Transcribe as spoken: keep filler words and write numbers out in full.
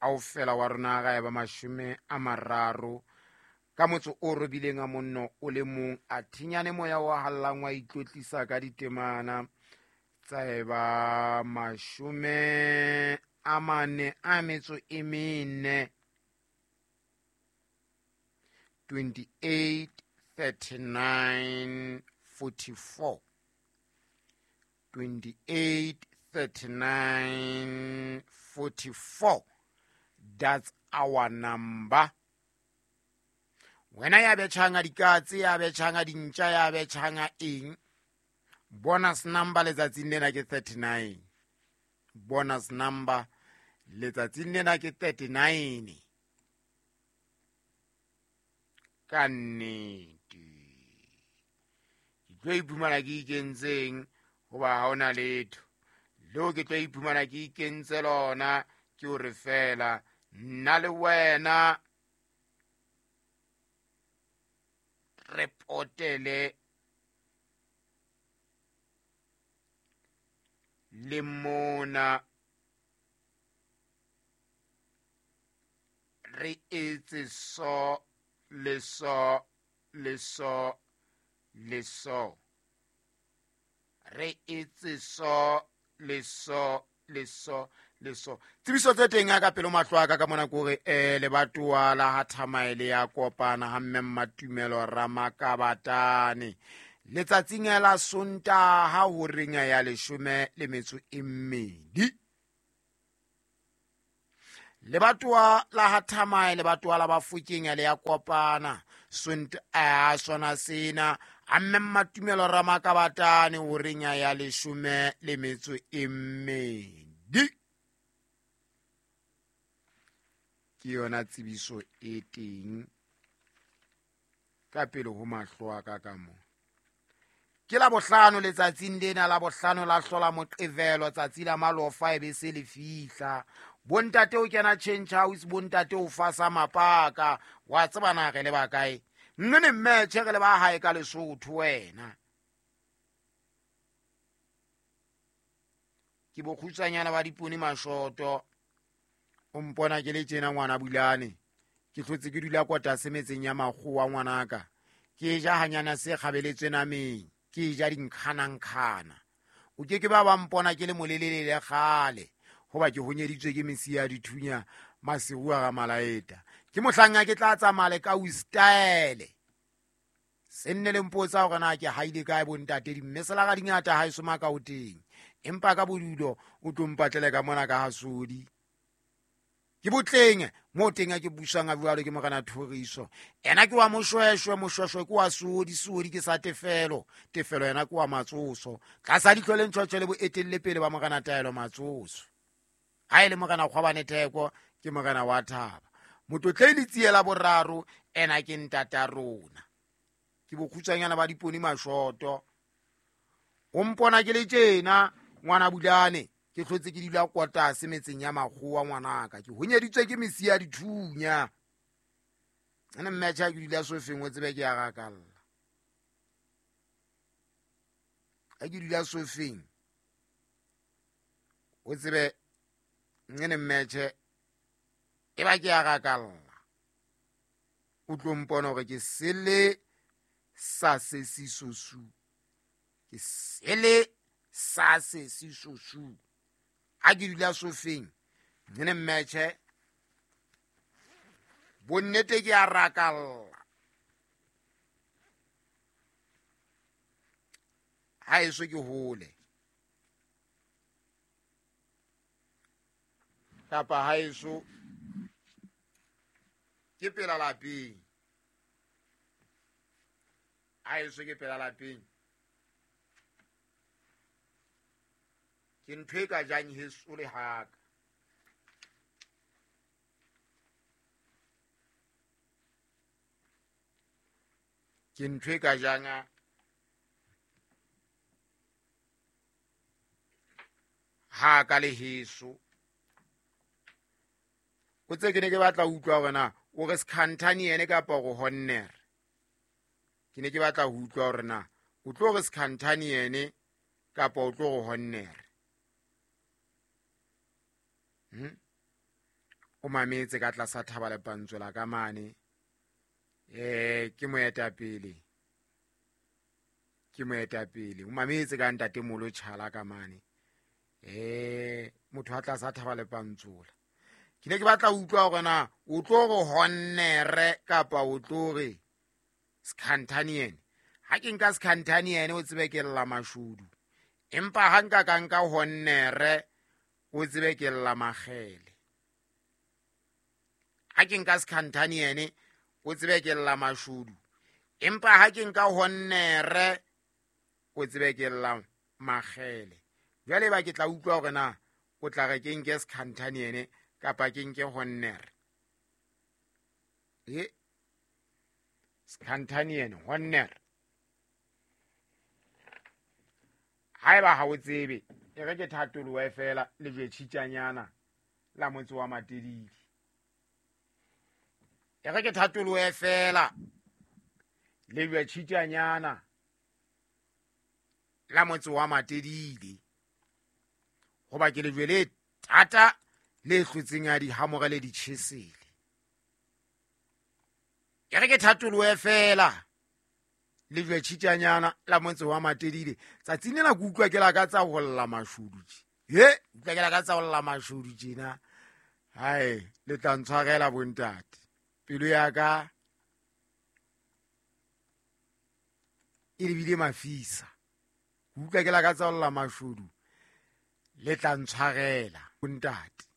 Kaofela wa rona ga eba mashome a mararo ka motso o robileng a monno o le mong a thinyane moya wa hallang wa itlotlisa ka ditemana tsa eba mashome a mane a metso e mene twenty-eight thirty-nine forty-four twenty-eight thirty-nine forty-four. That's our number. Wena ya betjhanga dikatse, ya betjhanga dintja, ya betjhanga eng, bonus number letsatsing lena ke thirty-nine. Bonus number letsatsing lena ke thirty-nine. Ka nnete ke tlo iphumana ke ikentseng hoba ha hona letho leo ke tlo iphumana ke ikentse lona ke hore fela nna le wena re potele le mona re etse so le so le so le so re etse so le so le so le so. Tsebiso tse teng ka pelo mahlo a ka ka mona kore eh lebatowa la ha Thamaele ya kopana ha mme Mmatumelo Ramakabatane letsatsing la Sontaha horeng ya leshome le metso e mmedi. Lebatowa la ha Thamaele lebatowa la Bafokeng le ya kopana Sontaha sona sena ha mme Mmatumelo Ramakabatane horeng ya leshome le metso e mmedi. Ke yona tsebiso e teng ka pele ho mahlo a ka ka mo. Ke la bohlano letsatsing lena la bohlano la hlola Moqebelo tsatsi la malofa e be se le fihla. Bontate o kena change house, bontate o fasa mapaka, wa tseba na re le ba kae? Nne ne mmetjhe re le ba hae ka Lesotho wena. Ke bokgutsanyana ba dipone mashoto. O mpona ke le tjena ngwana Bulane. Ke hlotse ke dula kotase metseng ya makgowa ngwanaka. Ke ja hanyana se kgabeletswe nameng. Ke ja dinkgana-nkgana. O ke ke ba ba mpona ke le molelele le kgale. Hoba ke honyeditswe ke mesi ya dithunya masiu a ga malaeta. Ke mohlang ke tla tsamaya le ka style. Se nne le mpotsa hore na ke haile kae bontate di mme sela ga dingata ha eso maka o teng. Empa ka bodulo o tlo mpatlele ka mona ka hasodi. Ke botleng mo teng ke busang a jwalo ke morena Thoriso. Ena ke wa Moshweshwe, Moshweshwe ke wa Sodi, Sodi ke sa Tefelo, Tefelo yena ke wa Matsoso. Tlasa ditlho le ntjhotjho le boetelle pele ba morena Taelo Matsoso. Ha ele morena Kgwabane Theko ke morena wa Thaba. Motlotlei Letsiela boraro ena ke ntata rona. Ke bokgutsanyana ba dipone mashoto. O mpona ke le tjena ngwana Bulane. Ke hlotse ke dula kotase metseng ya makgowa ngwanaka. Ke honyeditswe ke mesi ya dithunya. Ene mmetjha ke dula sofeng o tsebe ke ya gakalla. Ha ke dula sofeng o tsebe ene mmetjhe e ba ke ya gakalla. O tlo mpona hore ke sele sa se sisosu. Ke sele sa se sisosu. A ke dula sofeng nene mmetjhe bonnete ke a rakalla. Ha eso ke hole kapa ha eso ke pela lapeng. Ha eso ke pela lapeng. Ke ntho e ka jang heso le haka. Ke ntho e ka jang haka le heso. O tse ke ne ke batla ho utlwa hore na o re Skhantane yene kapa o re Honnere. Ke ne ke batla ho utlwa hore na o tlo re Skhantane yene kapa o tlo re Honnere. Hmm? O mametse ka tlasa thaba le pantsola ka mane. Eh ke moetapele. Ke moetapele. O mametse ka ntate Molo Chala ka mane. Eh motho a tlasa thaba le pantsola. Ke ne ke batla ho utlwa hore na o tlo re honnere kapa o tlo re Skhantaniene. Ha ke nka Skhantaniene o tsebe ke lla mashudu. Empa ha nka ka nka honnere o tsebe ke lla makgele. Ha ke nka Skhantaniene o tsebe ke lla mashudu. Empa ha ke nka honnere o tsebe ke lla makgele. Jwale ba ke tla utlwa hore na o tla re ke nke Skhantaniene kapa ke nke honnere. E Skhantaniene honnere. Haeba ha o tsebe e re ke thatoloe fela le jwe tjhitjanyana la motse wa Matedile. E re ke thatoloe fela le jwe tjhitjanyana la motse wa Matedile. Hoba ke lejwe le thata le hlotseng a di hamore le ditjhesele. E re ke thatoloe fela le jwe tjhitjanyana la motse wa Matedile. Tsatsing lena ke utlwa ke la ka tsa ho lla mashudu tje. He, utlwa ke la ka tsa ho lla mashudu tjena. Hai, le tla ntshwarela bontate. Pelo ya ka e lebile mafisa. Ke utlwa ke la ka tsa ho lla mashudu. Le tla ntshwarela bontate.